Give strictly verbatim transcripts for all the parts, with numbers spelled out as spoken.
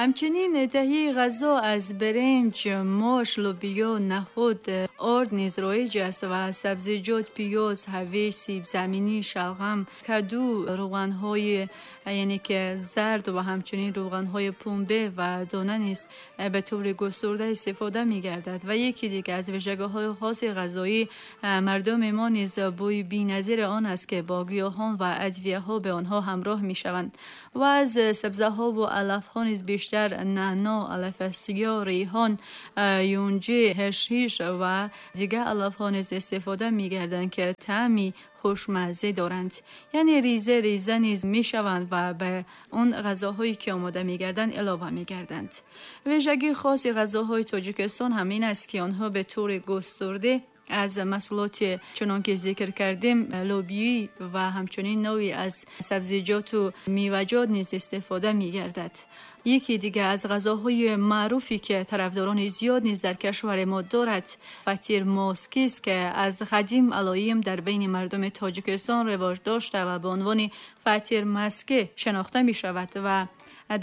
Ҳамчунин таҳияи ғазо аз биринҷ, мош, лӯбиё, нахӯд, орд низ роиҷ аст ва сабзиҷот, пиёз, ҳавиҷ, сибзаминӣ, шалғам, каду, равғанҳои яъне ки зард ва ҳамчунин равғанҳои пунбе ва дона низ ба таври густурда истифода мегардад. Ва яке дигар аз вижагиҳои хоси ғизоии мардуми мо низ бӯи беназири он аст ки бо гиёҳон ва адвияҳо ба онҳо ҳамроҳ мешаванд ва аз сабзаҳо ва алафҳо низ бештар нано, алафи сиёҳ, ریҳон, юнҷа, ҳашҳиш ва дигар алафҳо низ истифода мегарданд ки таъми хушмазза доранд. Яъне реза реза низ мешаванд ва ба он ғизоҳое ки омода мегарданд илова мегарданд. Вижагии хоси ғизоҳои Тоҷикистон ҳам ин аст ки онҳо ба таври густурда аз маҳсулоти чунон ки зикр кардем лӯбиё ва ҳамчунин навъе аз сабзиҷот ва меваҷот низ истифода мегардад. Яке дигар аз ғизоҳои маъруфе ки тарафдорони зиёд низ дар кишвари мо дорад фатир моски аст ки аз қадим алоим дар байни мардуми Тоҷикистон ривоҷ дошта ва ба унвони фатир маски шинохта мешавад ва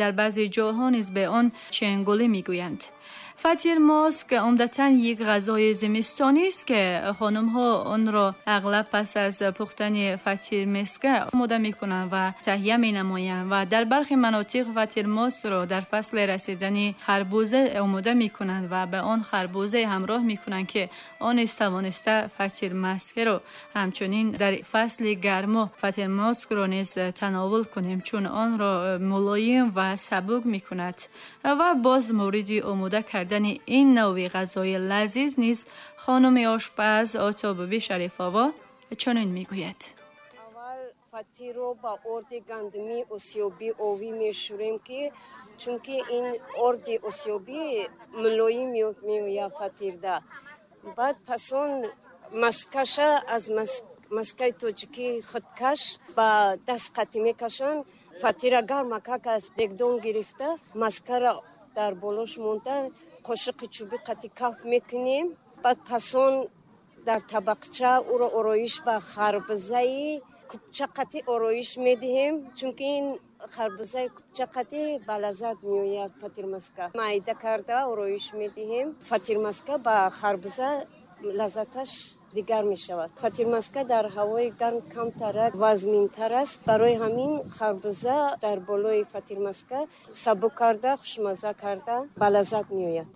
дар баъзе ҷоҳо низ ба он ченгулӣ мегӯянд. Фатир моск عمدتاً یک غذای زمستانی است که خانم‌ها آن را اغلب پس از پختن فطیر مسکه آماده می‌کنند و تهیه می‌نمایند و در برخی مناطق فطیر ماسک را در فصل رسیدن خربوزه آماده می‌کنند و به آن خربوزه همراه می‌کنند که آن نیز توانسته فطیر مسکه را همچنین در فصل گرما فطیر ماسک را نیز تناول کنیم، چون آن را ملایم و سبک می‌کند. و باز مورد آماده کردن این نوع غذای لذیذ نیز خانم آشپز آتابوبی شریف‌آوا چنین میگوید: اول فطیر رو با ارد گندمی اسیابی آبی میشوریم که چونکه این ارد اسیابی ملایم میآید فطیر ده. بعد پس اون مسکش از مسکای تاجیکی خودکش با دست قطی میکشن. فطیر گرمک از دگدون گرفته مسکه را در بالوش مونده قاشق چوبی قطی کف میکنیم. بعد پسون در طبقچه او را آرایش به خربزه کوپچه قطی آرایش میدهیم، چون که این خربزه کوپچه قطی به لذت میآید فطیر مسکه. مایده کرده آرایش میدهیم. فطیر مسکه به خربزه لذتش دیگر می شود. فطیر مسکه در هوای گرم کمتر وزمینتر است، برای همین خربزه در بالای فطیر مسکه سبک کرده خوشمزه کرده به لذت می آید.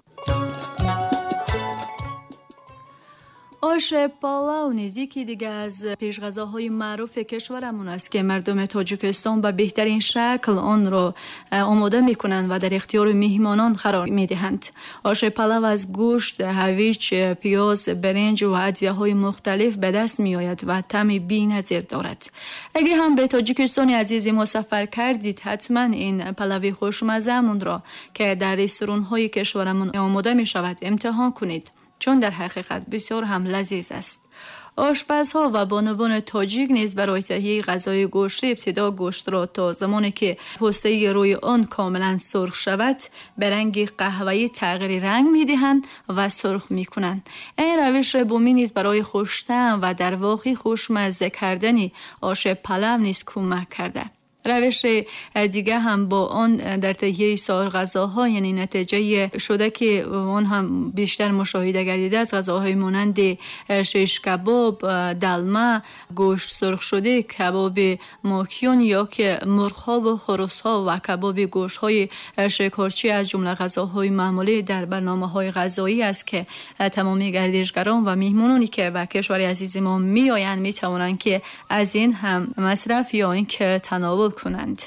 آش پالاو نیز یکی دیگه از پیشغذاهای معروف کشورمون است که مردم تاجیکستان به بهترین شکل آن را آماده میکنند و در اختیار میهمانان قرار میدهند. آش پالاو از گوشت، هویج، پیاز، برنج و ادویه‌های مختلف به دست میآید و طعم بی‌نظیر دارد. اگه هم به تاجیکستان عزیز ما سفر کردید حتما این پلاوی خوشمزه‌مون را که در رستوران‌های کشورمون آماده میشود امتحان کنید، چون در حقیقت بسیار هم لذیذ است. آشپزها و بانوان تاجیک نیز برای تهیه غذای گوشتی ابتدا گوشت را تا زمانی که پوسته روی آن کاملا سرخ شود به رنگ قهوه‌ای تغییر رنگ می‌دهند و سرخ می‌کنند. این روش بومی نیز برای خوش‌طعم و در واقع خوشمزه کردن آش پلو نیز کمک کرده. روش دیگه هم با آن در تهیه سایر غذاها، یعنی نتیجه شده که آن هم بیشتر مشاهده گردیده از غذاهای مانند شیش کباب، دلمه، گوشت سرخ شده، کباب ماکیون یا که مرغ‌ها و خروس‌ها و کباب گوشت‌های شکارچی از جمله غذاهای معمولی در برنامه‌های غذایی است که تمامی گردشگران و میهمانانی که به کشور عزیز ما میآیند می‌توانند که از این هم مصرف یا اینکه تناول کنند.